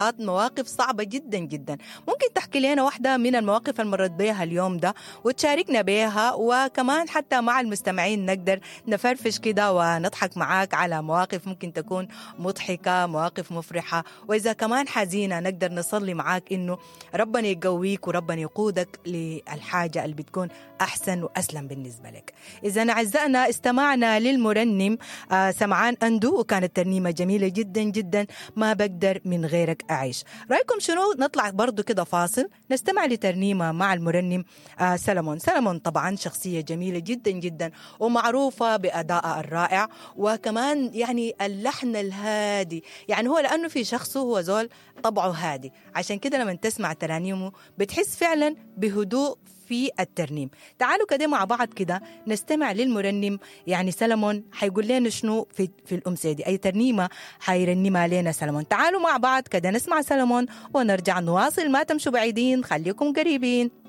مواقف صعبة جدا جدا. ممكن تحكي لنا واحدة من المواقف اللي مرت بيها اليوم ده وتشاركنا بيها، وكمان حتى مع المستمعين نقدر نفرفش كده ونضحك معاك على مواقف ممكن تكون مضحكة، مواقف مفرحة، وإذا كمان حزينة نقدر نصلي معاك إنه ربنا يقويك وربنا يقودك للحاجة اللي بتكون أحسن وأسلم بالنسبة لك. إذا أعزائنا استمعنا للمرنم سمعان أندو، وكانت ترنيمة جميلة جدا جدا، ما بقدر من غيرك أعيش. رأيكم شنو نطلع برضو كده فاصل نستمع لترنيمة مع المرنم سلمون. سلمون طبعا شخصية جميلة جدا جدا ومعروفة بأدائها الرائع، وكمان يعني اللحن الهادي، يعني هو لأنه في شخصه هو زول طبعه هادي، عشان كده لما تسمع ترانيمه بتحس فعلا بهدوء في الترنيم. تعالوا كده مع بعض كده نستمع للمرنم يعني سلمون حيقول لنا شنو في الأمسية دي، أي ترنيمة حيرنمها لنا سلمون. تعالوا مع بعض كده نسمع سلمون ونرجع نواصل، ما تمشوا بعيدين، خليكم قريبين.